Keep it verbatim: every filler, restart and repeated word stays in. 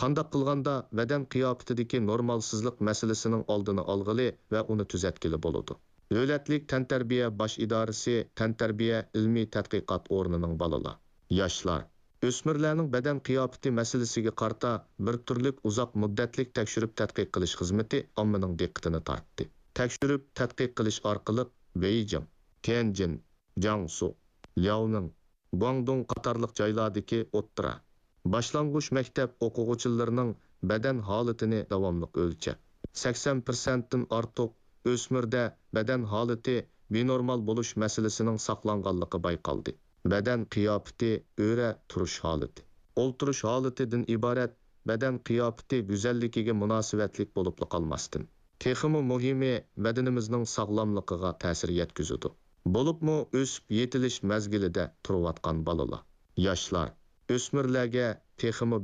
قانداق قىلغاندا بەدەن قىياپىتىدىكى نورمالسىزلىق مەسىلىسىنىڭ ئالدىنى ئالغىلى ۋە ئۇنى تۈزەتكىلى بولىدۇ؟ دۆلەتلىك تەنتەربىيە باش ئىدارىسى تەنتەربىيە ئىلمىي تەتقىقات ئورنىنىڭ بالىلار، ياشلار، ئۆسمۈرلەرنىڭ بەدەن قىياپىتى مەسىلىسىگە قارىتا بىر تۈرلۈك ئۇزاق مۇددەتلىك تەكشۈرۈپ تەتقىق قىلىش خىزمىتى ئاممىنىڭ دىققىتىنى تارتتى. تەكشۈرۈپ تەتقىق قىلىش ئارقىلىق بېيجىڭ، تيەنجىن، جياڭسۇ، لياۋنىڭ، گۇاڭدۇڭ قاتارلىق جايلاردىكى ئوتتۇرا، باشلانغۇچ مەكتەپ ئوقۇغۇچىلىرىنىڭ بەدەن ھالىتىنى داۋاملىق ئۆلچەپ، سەكسەن پىرسەنتتىن ئارتۇق ئۆسمۈردە بەدەن ھالىتى بىنورمال بولۇش مەسىلىسىنىڭ ساقلانغانلىقى بايقالدى. بەدەن قىياپىتى، ئۆرە تۇرۇش ھالىتى، ئولتۇرۇش ھالىتىدىن ئىبارەت بەدەن قىياپىتى گۈزەللىكىگە مۇناسىۋەتلىك بولۇپلا قالماستىن، تېخىمۇ مۇھىمى، بەدىنىمىزنىڭ ساغلاملىقىغا تەسىر يەتكۈزىدۇ. بولۇپمۇ ئۆسۈپ يېتىلىش مەزگىلىدە تۇرۇۋاتقان بالىلار، ياشلار، ئۆسمۈرلەرگە تېخىمۇ